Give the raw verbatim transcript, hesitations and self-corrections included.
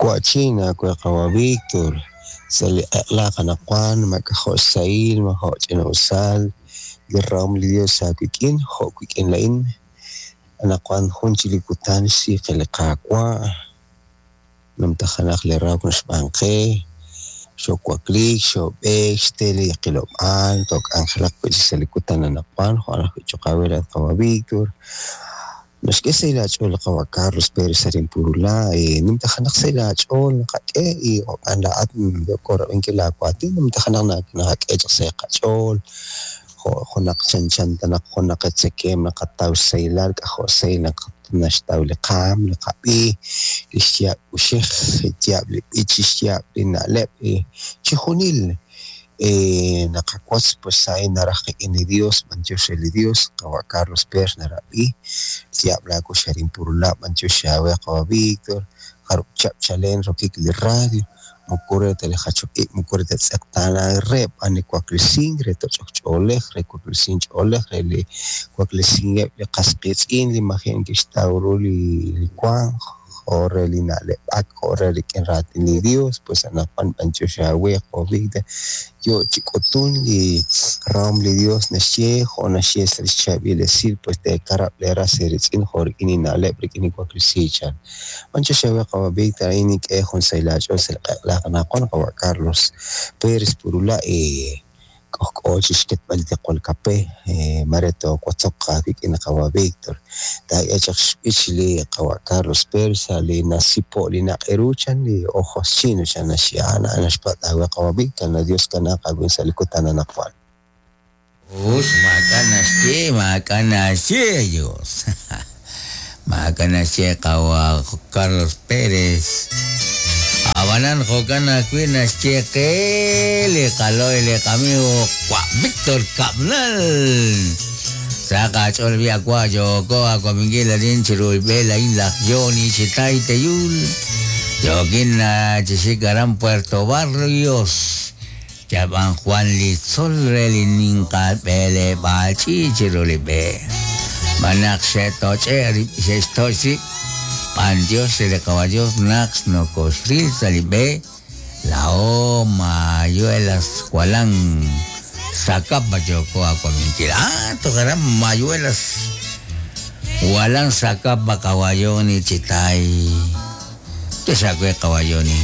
Wa'chin aawe qawa' Víctor, sa' li q'eq'la qanaqwan mak'ajo' xsahil majo' ch'ina'usal li rahom li Dios aawik'in jo' wik'in laa'in anaqwan jun chik li kutan xsiiqe li Qaawa' numtajenaq li rahok naxb'aan qe xoowakliik xoob'eek xte li qilob'aal took'anjelaq wi'chik sa' li kutan anaqwan jo' ajwi' choq' aawe laa'at qawa' Víctor naxk'e sa' aach'ool li qawa' Carlos Pérez arin Purulá numtajenaq sa' aach'ool naqak'e y jo'kan laa'at yooko rab'inkil laawaatin numtajenaq naqak'e chaq sa' qach'ool jo' junaq chanchan ta naq junaq tzakeem naqataw xsahilal k'ajo' xsahil naq naxtaw li qaam li qab'i li xyaab' kuxej xyaab' li b'ich xyaab' li na'leb' chijunil naqawotz pues a'in naraj qik'in li Dios b'antiox re li Dios qawa' Carlos Pérez narab'i xyaab' laakux arin Purulá b'antiox aawe qawa' Víctor jarub' chihab' chalen rokik li radio moko re ta li jachok ib' moko re ta tz'eqtaanank re b'an li waklisink re toch'ok ch'oolej re waklisink ch'oolej re li waklisinkeb' li qas qiitz'in li maji' neke'xtaw ru li li wank jo' re li na'leb'ak jo' re rik'in raatin li Dios pues anaqwan b'antiox aawe qawa' Víctor yo chi k'utun li rahom li Dios naxye jo' naxye sa' li xchaab'il esil pues teekarab' leeras eeritz'in jo' rik'in li na'leb' rik'in li waklisiik chan b'antiox aawe qawa' Víctor a'in nink'e jun sahil aach'ool sa' li q'eq'la qanaqwan qawa' Carlos Pérez Purulá k'ojk'o chi xketb'al li tiqwal kape mare toowotzoq aawik'in qawa' Víctor taak'e chaq xb'ich li qawa' Carlos Pérez sa' li nasipo' li naq'eru chan li ojos chino chan naxye a'an naxpatz' aawe qawa' Víctor na Dios kanaaq aawin sa' li kutan anaqwan. Us, maak'a' naxye, maak'a' naxye, Dios. Maak'a' naxye qawa' Carlos Pérez. Abanan jo'kan ajwi' naxye qe li qalo'y li qamigo wa' Víctor Cabnal. Sa qach'ool bi akwa yooko akwaminkil arin chiru b'e la'in laj Johnny Chitay Teyul. Yokin na chixik aran Puerto Barrios. Yab'an Juan Litzol re li ninqal b'eleb'aal ch'iich chiru li b'e. Manaq xe'toch'e xe'xtoch' rib' Pan Dios le caballos nax no cosril salibe la o mayuelas Jualan Zacapa yoko aquaminquil. Ah, tocarán mayuelas Jualan Zacapa caballoni chitay. Te saco caballoni.